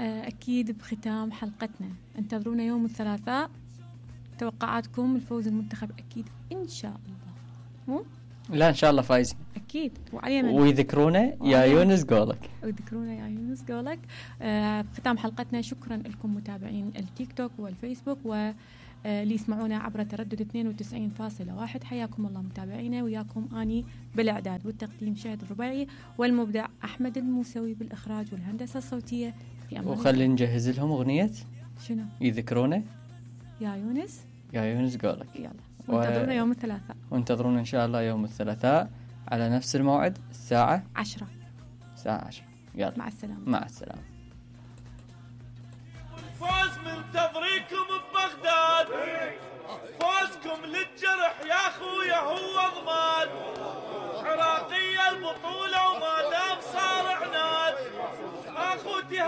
أكيد بختام حلقتنا انتظرونا يوم الثلاثاء. توقعاتكم الفوز المنتخب أكيد إن شاء الله، مو؟ لا إن شاء الله فايزين أكيد. وعلى من ويذكرونا يا يونس جولك، ويذكرونا يا يونس جولك. بختام حلقتنا شكرا لكم متابعين التيك توك والفيسبوك واللي يسمعونا عبر تردد 92.1. حياكم الله متابعينا، وياكم أني بالإعداد والتقديم شهد الربيعي، والمبدع أحمد الموسوي بالإخراج والهندسة الصوتية. في أمان. وخلي نجهز لهم أغنية شنو؟ يذكرونا يا يونس، يا يونس جولك. يلا وانتظرونا يوم الثلاثاء، وانتظرونا إن شاء الله يوم الثلاثاء على نفس الموعد الساعة 10. الساعة 10. يلا مع السلامة. مع السلامة. الفوز منتظريكم ببغداد، فوزكم للجرح يا خويا هو ضمان، عراقية البطولة وما دام صار عناد، اخوتي